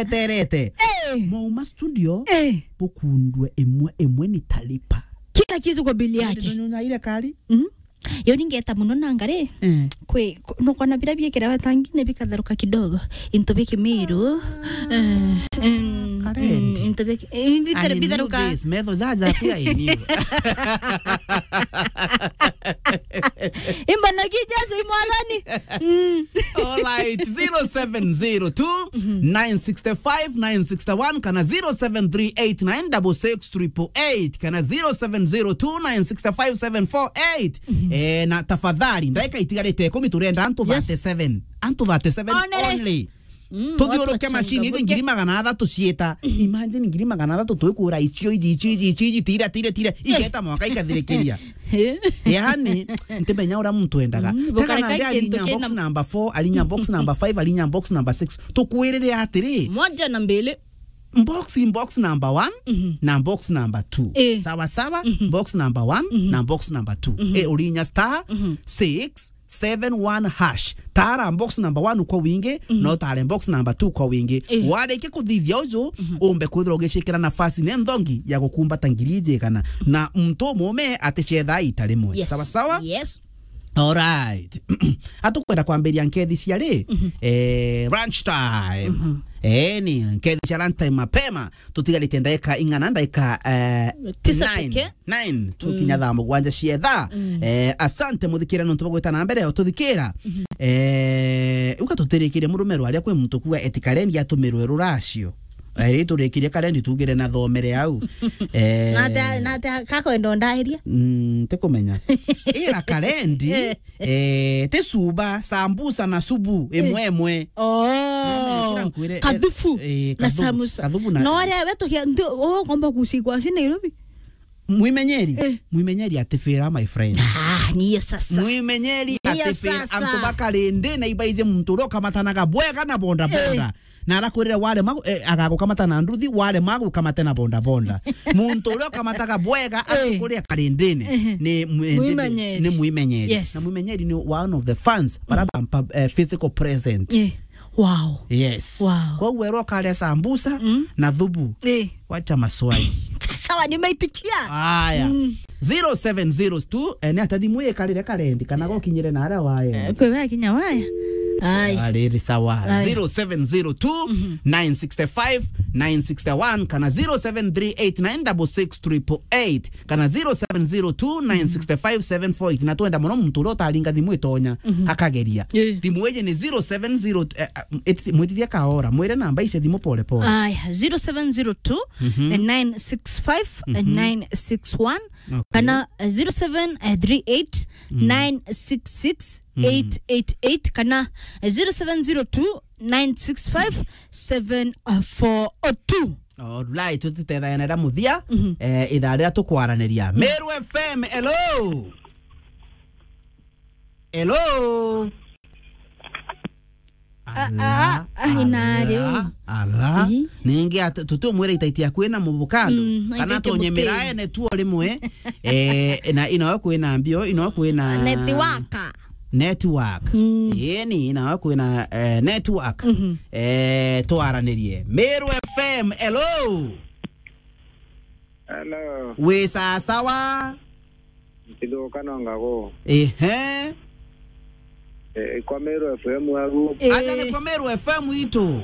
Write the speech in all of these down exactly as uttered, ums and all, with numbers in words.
eterete. Eh. Mwauma studio, eh, bukundwe imwe imwe nitalipa. Kila kitu kwa bili yake. Ndio nyonyaire kari? Mm. Yo ningeta muno na ngari. Eh. Kwi, ku-, nukona bira biekira wetangine bikatharuka kidogo. Into biki miru. Eh, mm, karendi. Mm, into biki, eh, bitharu-, I knew bitharuka. This. Metho jaja pia I knew. Imba na ki Jesu i mwathani. Mm. All right, zero seven zero two, nine six five, nine six one, kana zero seven three eight nine six six triple eight, kana zero seven zero two, nine six five, seven four eight. Eh, na tafadhali, ndagika itigarite ikumi, turenda antu, yes, thirty-seven. Antu thirty-seven only. Only. Mm, tuthiuruke watu macini iji wachangamke. Ngiri magana athatu ciita. Imagine ngiri magana athatu twikura icio iji, icio iji, icio iji, tira, tira, tira. Eh. Igeta mwaka ikathirikiria. Eh. Yani, ntimenya uria muntu endaga. Mm, tega na gukareka nde alinya kintu box kina number four, alinya box number five, alinya box number six. Tukwirire atiri. Moja na mbili. Box in box number one, mhm, na box number two. Eh. Sawa sawa, mhm, box number one, mhm, na box number two. Mhm. Eh, urinya star, mhm, six seven one hash. Tara box number one kwa wingi, mhm, na utare box number two kwa wingi. Eh. Warike kuthithia uju, mhm, umbe kwithirwa ugicikira nafasi ne nthongi ya gukumbata ngiri ijigana. Na muntu umume aticetha ita rimwe. Yes. Sawa sawa? Yes. Alright. Atukwenda kwambiria nkethi cia ri? Mhm. Eh, lunch time. Mhm. Eh, ni nkethi cia lunch time mapema. Tutigarite ndagika ing'ana, ndagika, eh, tisa nine. Pekee. Nine, tukinya, mm, thaa mugwanja cia thaa. Mm. Eh, asante muthikire nontu bwa gwita na mbere ututhikira. Mhm. Eh, uga tutirikirie murume rwaria kwi muntu kuga eti karendi atumirwe ruracio. Eh, ri turikirie karendi tugire na thomere au. Eh, na ata, na ata kakwenda ndairia? Mm, tikumenya. Ira karendi, eh, ti cuba, sambusa na subu, imwe, eh, imwe. Oh. Nkwire, eh, kathufu, eh, na kathufu, sambusa. Kathufu na no aria we tukia, ndio, oh, komba kusigwa si Nairobi. Mwimenyeri? Eh. Mwimenyeri atifira, my friend. Ah, niye sasa. Mwimenyeri atifira, sasa. Antu bakarindi na ibaize muntu uria ukamatanaga bwega na bonda bonda. Eh. Na arakwirire warema, eh, agagukamata na nduthi, warema agukamate na bonda bonda. Muntu uria ukamataga bwega, eh, atukuria karindini, ehe, ni mwi-, ni, mwimenyeri, ni mwimenyeri. Yes. Na mwimenyeri ni one of the fans, bara, mm, bampa, eh, physical present. Eh. Wow. Yes. Wow. Koguo erwo ukaria sambusa, mm, na thubu. Eh. Wacha maswali. Sawa, nimeitikia. Aya. Mm. Zero seven zero two, eh, ni ata thimu ikarire karendi, kana gokinyire na aria wae. Eh, kwe wakinya waya. Ai. Ariri sawa. Ai. Zero seven zero two, nine six five, nine six one, kana zero seven three eight nine six six triple eight, kana zero seven zero two, nine six five, seven four eight. Na twenda muno muntu uria utaringa thimu itonya, mhm, akageria. Eh. Thimu iji ni zero seven zero, eh, eh, mwitithia kaora, mwire namba ici thimu pole pole. Aya, zero seven zero two, mhm, nine six five, mhm, nine six one, okay, kana, eh, zero seven three eight, nine six six, eight eight eight, kana, eh, zero seven zero two, nine six five, seven four two. Alright, tutitethagana na muthia, mhm, eh, ithaa riria tukwaraniria. Mhm. Meru F M, hello. Hello. Ah, ah, ah, ina riu. Ala. Ii. Ningi at-, tutumwira itaiti ya kwina mubukando. Mm, kana itaiti tonye buti. Miraene tuo rimwe. Eh, na ino kwina mbio, ino kwina network. Network. Mm. Yeni, ino kwina, eh, network. Mhm. Eh, twaranirie. Meru F M, hello. Hello. Wi sawa sawa? Ntithuka no ngagu. Ehe. Eh, kwa Meru F M agu. Eh. Aja ni kwa Meru F M itu.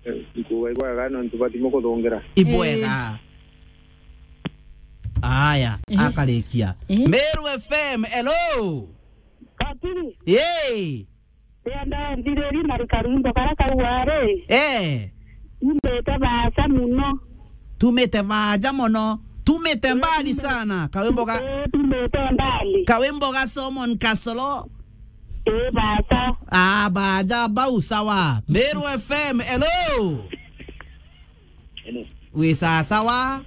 Eh, nkuga ibwega nontu batimu kuthungira. Ibwega. Eh. Aya, eh, akarikia. Eh. Meru F M, hello. Katiri. Yee. Ndenda nthiriri na karwimbo karia kauga ri, eh, tumite baaja muno. Tumite baaja muno. Tumite mbali sana. Kawimbo ga, eh, tumite mbali. Kawimbo ga Solomon Kasolo. Eh, baaja. Ah, baaja bau sawa. Meru F M, hello. Hello. Wi sawa sawa?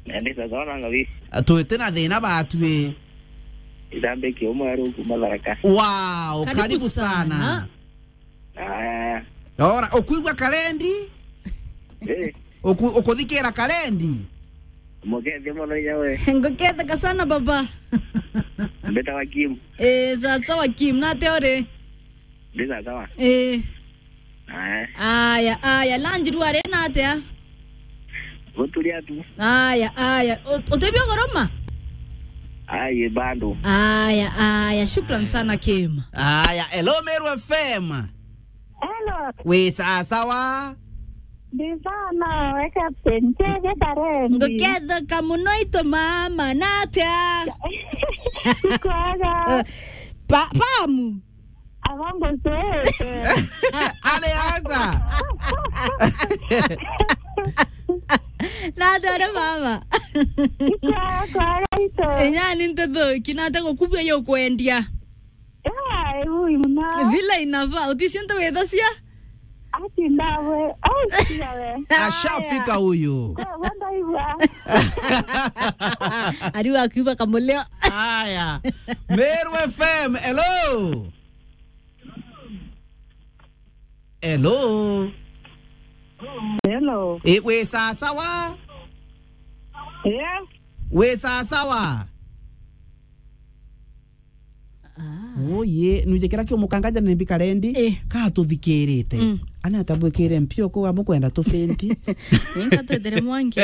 Na ndi sawa sawa na ngawi. Twite na thina batwi. Ithambikie umwe aru kuma Tharaka. Wow, karibu sana. Aya. Ora, ukuigua karendi? Eh. Uku-, ukuthikira karendi? Mukethia muno inya we. Nguketheka sana baba. Mbeta wa Kim. Eh, sawa sawa Kim, nate uri? Ndi sawa sawa. Eh. Eh. Aya, aya, lunch rwari na atia? Guturia tu. Aya, aya. U-, utibio goroma? Ai, bado. Aya, aya, shukran sana, Kim. Aya, hello, Meru F M. Hello. Wi sawa sawa? Ndi sana, we Captain. Chege karendi. Ngukethoka muno itu mama, na atia? Ikwega. Pa-, pamu. Abango sete. Ale aja. Na atia ari mama? Ikwega, kwega itu. Inya ni ntethoki, na atia gukubia yo kwendia? Ai, ui, mna. Vile inafaa, utisi ntu withacia? Ati ndawe. Ai, tia we. Ashafika huyu. Kwa, kwa ndaigua. Ariu akiuga kamulio. Aya. Meru F M, hello. Hello. Hello. E, wi sawa sawa? Yeah. Wi sawa sawa? Ah. Uye, nuje kira kiu mukanga jana ni mbikare ndi, eh, ka tuthikirite. Mm. Ana atabwikire mpio ko amukwenda tufenti. Ninka twethere mwanki.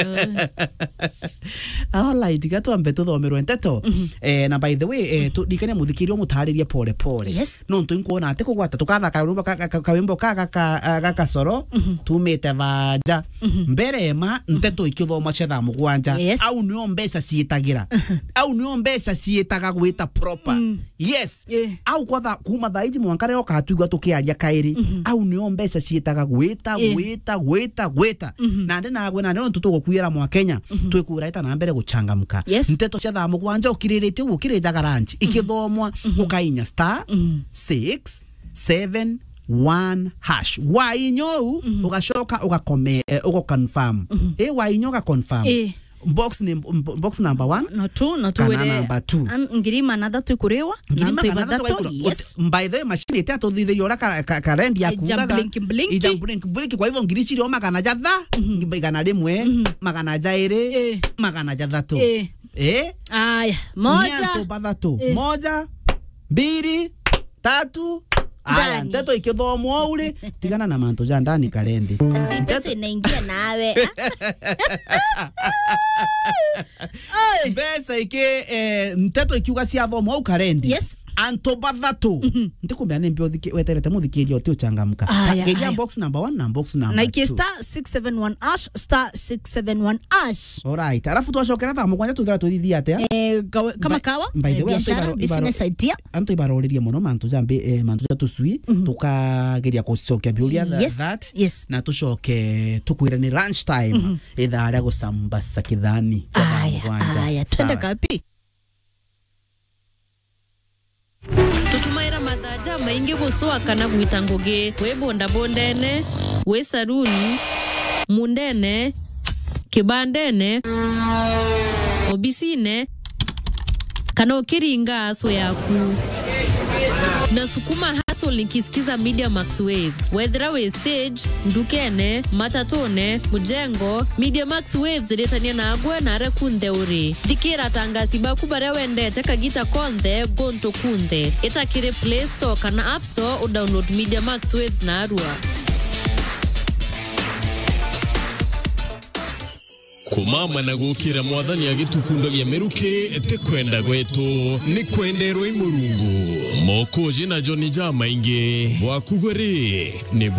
All right, ga twambe tuthomerwe nteto. Mhm. Eh, na by the way, eh, tu-, ndikania muthikiria umutaririe pole pole. Yes. Nontu inkuona ati kugwata, tukathaka rwimbo ka, ka, ka, kawimbo ka, ka, ka, ah, ga kasoro, mhm, tumite vaja. Mhm. Mbere ma, mhm, nteto ikithomwa cia thaa mugwanja. Yes. Au nio mbeca ciitagira. Mhm. Au nio mbeca ciitaga gwita proper. Mm. Yes. Eh. Au kwa tha-, kuma thaa iji mwanka rio ukatwigua tukiaria kairi. Mhm. Au nio mbeca ciitaga gwita, eh, gwita, gwita, gwita. Mhm. Nandi nagwe, nandi nontu tugukwira mwa Kenya, mhm, twikura ita na mbere guchangamka. Yes. Nteto cia thaa mugwanja ukiriritie uguo ukirijaga lunch, mhm, ikithomwa, mhm, ukainya star, mhm, six seven one hash. Wainya uu, mhm, ugacoka ugakome-, eh, ugaconfirm. Mhm. Eh, wainya ugaconfirm. Eh. Box ni, box number one. No two, no two kana were number two. An-, ngiri magana athatu ikuriwa, ngiri na antu magana athatu bathatu, ikuriwa. Yes. Ut-, by the way, machine iti atuthithiria uria ka-, ka-, karendi ya kuugaga. Ija blink, blink. Ija blink, blink. Kwa hivyo, ngiri cirio magana jatha, mhm, igana rimwe, mhm, magana jairi, eh, magana jathatu. Eh. Eh? Aya, moja. Ni antu bathatu. Eh. Moja, mbiri, tatu. Aya, ndani. Nteto ikithomwa uu ri, tigana na mantu ja ndani karendi. Si pesa inaingia nawe. Oi. Mbeca iki, eh, nteto ikiuga ciathomwa uu karendi. Yes. Antu bathatu. Mhm. Ndikumenya ni mbi uthiki-, weterete muthikiria uti uchangamka. Aya, geria aya. Box number one na box number two. Na iki star six seven one hash, star six seven one hash. Alright. Alafu twacokera thaa mugwanja twithira twithithia atia? Eh, kawa-, kama by, kawa, by the eh, way, antu biashara, ibaro-, ibaro-, business idea. Antu ibaroririe muno mantu ja mbi-, eh, mantu ja tucui, mhm, tukageria gucokia biuria tha-, yes, that, yes, na tucoke tukwire ni lunch time, mhm, ithaa ria gucambasa kithani kia thaa mugwanja. Aya, aya, twende kapi? Tutumaira mathaa jamaingi gucua kana gwita ngugi, wi bondabondene, wi saruni, mundene, kibandene, obisine, kana ukiringa aso yaku. Na sukuma hustle nikisikiza Media Max Waves. Wethira wi stage, ndukene, matatune, mujengo, Media Max Waves iritania nagwe na aria kunthe uri. Thikira atangasi baku baria wendete kagita konthe, guntu kunthe. Ita kiri Play Store kana App Store u download Media Max Waves narua. Kumama na gukira Mwathani agitukundagia miruki ti kwenda gwetu, ni kwenderwa i Murungu. Mokoji na Joni jamaingi bwaku gwe ri, ni buri